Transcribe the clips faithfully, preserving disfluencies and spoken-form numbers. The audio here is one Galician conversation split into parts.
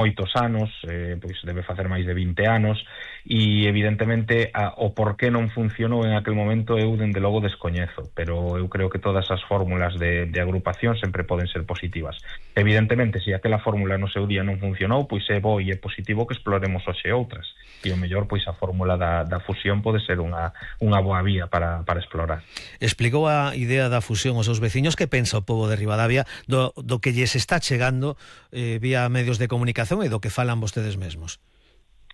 moitos anos, eh, pois debe facer máis de vinte anos, e evidentemente a, o por que non funcionou en aquel momento eu dende logo descoñezo, pero eu creo que todas as fórmulas de, de agrupación sempre poden ser positivas. Evidentemente, se aquela fórmula no seu día non funcionou, pois é bo e é positivo que exploremos hoxe outras, e o mellor pois a fórmula da, da fusión pode ser unha, unha boa vía para, para explorar. Explicou a idea da fusión aos seus veciños. Que pensa o pobo de Ribadavia do, do que lles está chegando eh, vía medios de comunicación e do que falan vostedes mesmos?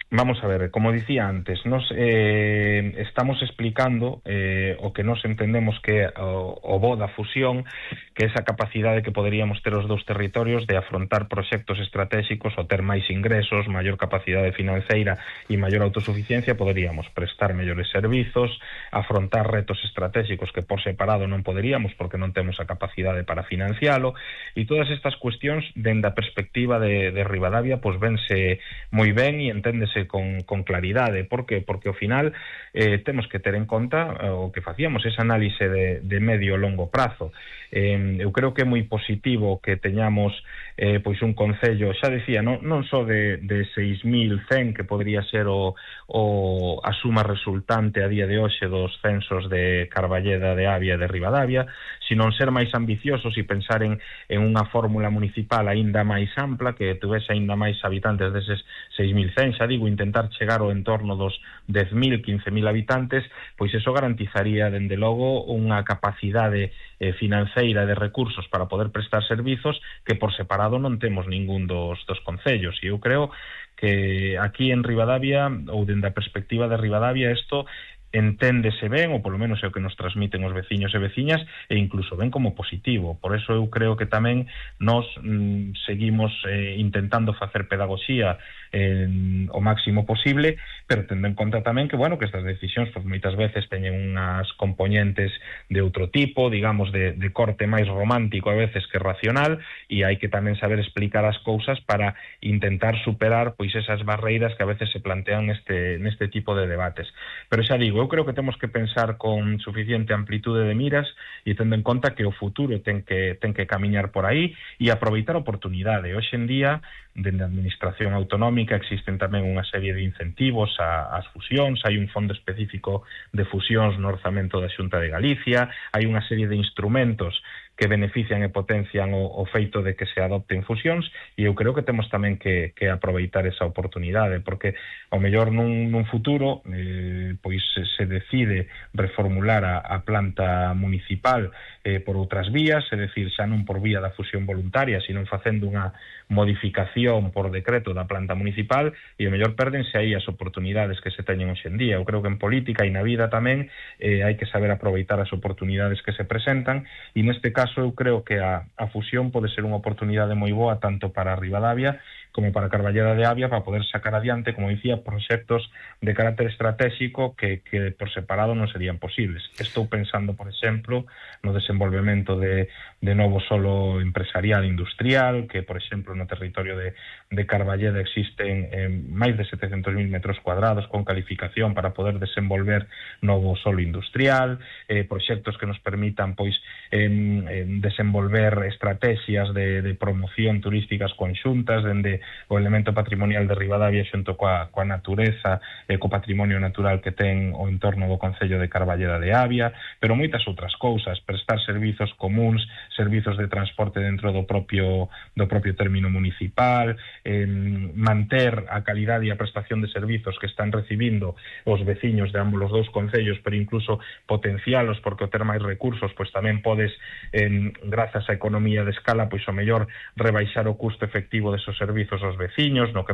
Vamos a ver, como dicía antes, nos eh, estamos explicando eh, o que nos entendemos que o, o bo da fusión, que esa capacidade que poderíamos ter os dous territorios de afrontar proxectos estratégicos ou ter máis ingresos, maior capacidade financeira e maior autosuficiencia, poderíamos prestar mellores servizos, afrontar retos estratégicos que por separado non poderíamos porque non temos a capacidade para financialo, e todas estas cuestións dende a perspectiva de, de Ribadavia pois vense moi ben e enténdese Con, con claridade. Por que? Porque ao final eh, temos que ter en conta eh, o que facíamos, esa análise de, de medio e longo prazo. Eh, eu creo que é moi positivo que teñamos eh, pois un concello, xa decía, non, non só de, de seis mil cen, que podría ser o, o, a suma resultante a día de hoxe dos censos de Carballeda, de Avia e de Ribadavia, sino ser máis ambiciosos e pensar en, en unha fórmula municipal aínda máis ampla, que tuvese aínda máis habitantes deses seis mil cen, xa digo, intentar chegar ao entorno dos dez mil, quince mil habitantes, pois eso garantizaría, dende logo, unha capacidade eh, financeira de recursos para poder prestar servizos que por separado non temos ningún dos, dos concellos. E eu creo que aquí en Ribadavia, ou dende a perspectiva de Ribadavia, isto enténdese ben, ou polo menos é o que nos transmiten os veciños e veciñas, e incluso ben como positivo. Por eso eu creo que tamén nos mm, seguimos eh, intentando facer pedagogía eh, o máximo posible, pero tendo en conta tamén que, bueno, que estas decisións pues, moitas veces teñen unhas componentes de outro tipo, digamos, de, de corte máis romántico a veces que racional, e hai que tamén saber explicar as cousas para intentar superar pois esas barreiras que a veces se plantean neste, neste tipo de debates. Pero xa digo, eu creo que temos que pensar con suficiente amplitude de miras e tendo en conta que o futuro ten que, ten que camiñar por aí e aproveitar a oportunidade. Hoxe en día, dende a administración autonómica, existen tamén unha serie de incentivos ás fusións, hai un fondo específico de fusións no orzamento da Xunta de Galicia, hai unha serie de instrumentos que benefician e potencian o, o feito de que se adopten fusións, e eu creo que temos tamén que, que aproveitar esa oportunidade, porque ao mellor nun, nun futuro eh, pois se, se decide reformular a, a planta municipal eh, por outras vías, é dicir, xa non por vía da fusión voluntaria, sino facendo unha modificación por decreto da planta municipal, e ao mellor perdense aí as oportunidades que se teñen hoxe en día. Eu creo que en política e na vida tamén eh, hai que saber aproveitar as oportunidades que se presentan, e neste caso eu creo que a, a fusión pode ser unha oportunidade moi boa tanto para Ribadavia como para Carballeda de Avia para poder sacar adiante, como dicía, proxectos de carácter estratégico que, que por separado non serían posibles. Estou pensando, por exemplo, no desenvolvemento de, de novo solo empresarial industrial, que, por exemplo, no territorio de, de Carballeda existen eh, máis de setecentos mil metros cuadrados con calificación para poder desenvolver novo solo industrial, eh, proxectos que nos permitan, pois, eh, desenvolver estrategias de, de promoción turísticas conxuntas, dende o elemento patrimonial de Ribadavia xunto coa, coa natureza e co patrimonio natural que ten o entorno do concello de Carballeda de Avia, pero moitas outras cousas, prestar servizos comuns, servizos de transporte dentro do propio do propio término municipal, eh, manter a calidade e a prestación de servizos que están recibindo os veciños de ambos os dous concellos, pero incluso potencialos, porque o ter máis recursos, pois tamén podes, eh, grazas á economía de escala, pois o mellor rebaixar o custo efectivo desos servizos aos veciños, no que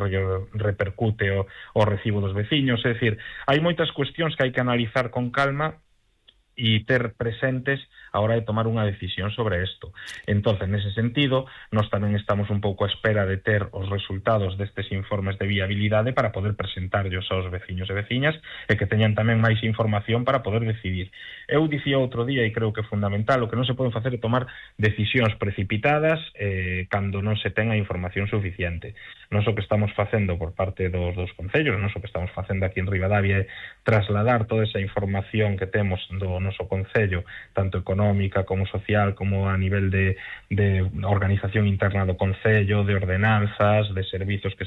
repercute o, o recibo dos veciños. É dicir, hai moitas cuestións que hai que analizar con calma e ter presentes a hora de tomar unha decisión sobre isto. Entonces, nese sentido, nós tamén estamos un pouco a espera de ter os resultados destes informes de viabilidade para poder presentarlos aos veciños e veciñas e que teñan tamén máis información para poder decidir. Eu dicía outro día, e creo que é fundamental, o que non se poden facer é tomar decisións precipitadas eh, cando non se ten a información suficiente. Nós o que estamos facendo por parte dos, dos concellos, nós o que estamos facendo aquí en Ribadavia é trasladar toda esa información que temos do noso concello, tanto económica como social, como a nivel de, de organización interna do concello, de ordenanzas, de servizos que